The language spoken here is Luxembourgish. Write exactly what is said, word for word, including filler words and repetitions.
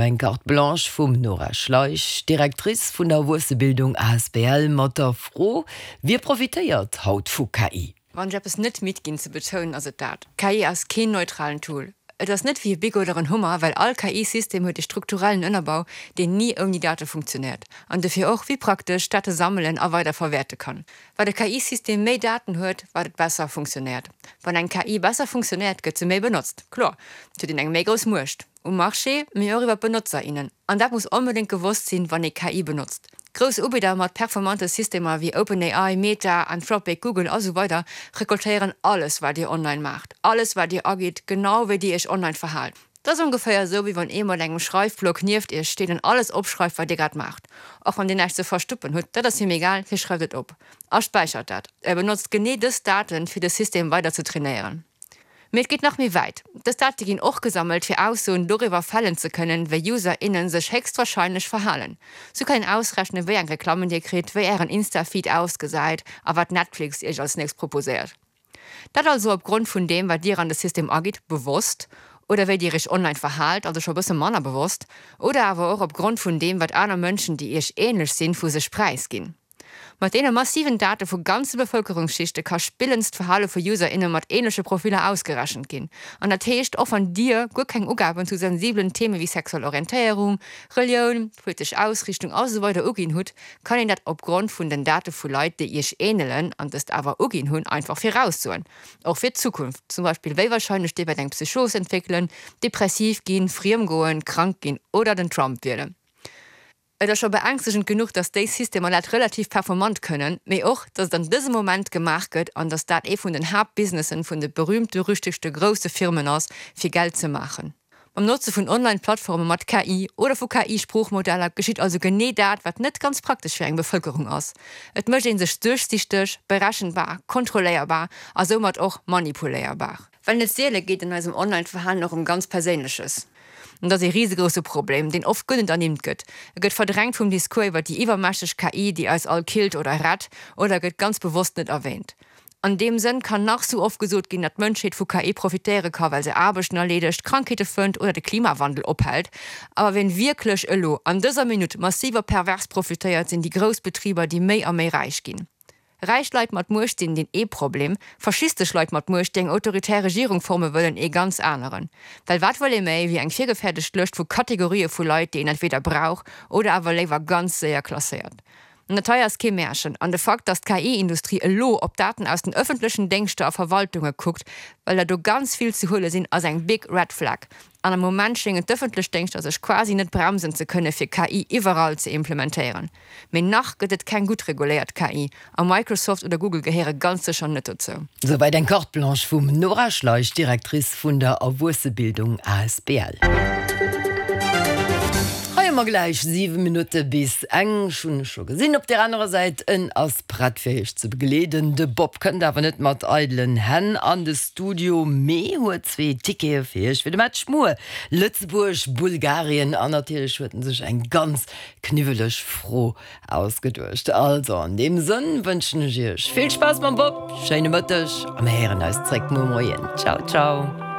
Eng Carte Blanche vum Nora Schleich, Directrice vun der Erwuessebildung asbl mat der Fro, Wie profitéiert haut vu K I? Wann ech eppes net midd ginn ze betounen, ass et dat, K I ass keen neutralen Tool. Et ass net wéi e Bic oder en Hummer, well all K I-System huet e strukturellen Ënnerbau, deen ni ouni Date funktionéiert an dofir och, wéi praktesch, Date sammelen a weider verwäerte kann. Wat e K I-System méi Daten huet, wat et besser funktionéiert. Wann eng K I besser funktionéiert, gëtt se méi benotzt. Kloer, et huet een eng méi grouss Muecht um Marché, mee och iwwer d'Benotzer, innen. An dat muss onbedéngt gewosst sinn, wann ee K I benotzt. Grouss Ubidder mat performante Systemer wéi OpenAI, Meta, Anthropic, Google a sou weider rekoltéieren alles, wat Dir online maacht, alles, wat Dir agitt, genau wéi Dir Iech online verhaalt. Dat ass ongeféier esou, wéi wann ee mat engem Schreifblock nieft Iech steet an alles opschreift, wat Dir grad maacht. Och wann Dir näischt ze verstoppen hutt, dat ass him egal, hie schreift et op a späichert dat. E benotzt genee dës Daten, fir de System weider ze trainéieren. Mee et geet nach méi wäit, Dës Date ginn och gesammelt, fir Aussoen doriwwer fällen ze kënnen, wéi User, innen sech héchstwarscheinlech verhalen. Sou kann een ausrechnen, wéi eng Reklammen Dir kritt, wéi Ären Insta-Feed ausgesäit a wat Netflix Iech als nächst proposéiert. Dat also opgrond vun deem, wat Dir an de System agitt, bewosst, oder wéi Dir Iech online verhaalt, also scho bësse manner bewosst, oder awer och opgrond vun deem, wat aner Mënschen, déi Iech änlech sinn, vu sech präisginn. Mat deene massiven Date vu ganze Bevëlkerungsschichte ka spillends d'Verhale vu User, inne mat änleche Profiller ausgerechent ginn. An dat heescht, och wann Dir guer keng Ugaben zu sensibelen Theme wéi sexuell Orientéierung, Relioun, politesch Ausriichtung a sou weider uginn hutt, kann een dat opgrond vun den Date vu Leit, déi Iech änelen an dëst awer uginn hunn, einfach viraussoen. Och fir d'Zukunft, zum Beispill wéi warscheinlech Dir wäert eng Psychos entwéckelen, depressiv ginn, friemgoen, krank ginn oder den Trump wielen. Et ass scho beängstegend genuch, dass déi Systemer dat relativ performant kënnen, mee och, dass et an dësem Moment gemaach gëtt an dass dat ee vun den Haaptbusinessen vun de berühmt-berüchtegte grousse Firmen ass, fir Geld ze maachen. Mam Notze vun Online-Plattforme mat K I oder vu K I-Sproochmodeller geschitt also genee dat, wat net ganz praktesch fir eng Bevëlkerung ass, Et mécht ee sech duerchsichteg, berechenbar, kontrolléierbar a soumat och manipuléierbar. Well net siele geet an eisem Online-Verhalen och ëm ganz Perséinleches. An dat ass ee risegrousse Problem, deen oft guer net ernimmt gëtt. E gëtt verdrängt vum Discours iwwer déi iwwermächteg K I, déi eis all killt oder rett, oder gëtt ganz bewosst net erwäänt. An deem Sënn kann nach sou oft gesot ginn, datt d'Mënschheet vu K I profitéiere ka well se Aarbechten erleedegt, Krankheete fënnt oder de Klimawandel ophält. Awer wien wierklech elo, an dëser Minutt, massiv a pervers profitéiert, sinn déi grouss Betriber, déi méi a méi räich ginn. Räich Leit mat Muecht sinn deen ee Problem, faschistesch Leit mat Muecht, déi eng autoritär Regierung forme wëllen, ee ganz aneren. Well wat wëll ee méi wéi eng virgefäerdegt Lëscht vu Kategorië vu Leit, déi een entweder brauch oder awer léiwer ganz séier klasséiert? An dat hei ass kee Märchen. An de Fakt, datt d'K I-Industrie elo op Daten aus den ëffentlechen Déngschter a Verwaltunge kuckt, well der do ganz vill ze huele sinn, ass eng big red flag. An am Moment schéngen d'ëffentlech Déngschter sech quasi net bremsen ze kënne fir K I iwwerall ze implementéieren. Mee nach gëtt et keng gutt reguléiert K I, a Microsoft oder Google gehéiere ganz sécher net dozou. Souwäit eng Carte Blanche vum Nora Schleich, Directrice vun der Erwuessebildung asbl. Hei hu mer gläich siwe Minutte bis eng. Ech hunn e scho gesinn op där anerer Säit. En ass prett fir iech ze begleeden. De Bob kënnt awer net mat eidelen Hänn an de Studio, mee huet zwee Tickete fir iech fir de Match muer, Lëtzebuerg, Bulgarien. An natierlech huet en sech eng ganz kniwweleg Fro ausgeduecht. Also an deem Sënn wënschen ech iech vill Spaass mam Bob, schéine Mëtteg a mir héieren eis zréck muer Moien. Ciao, ciao.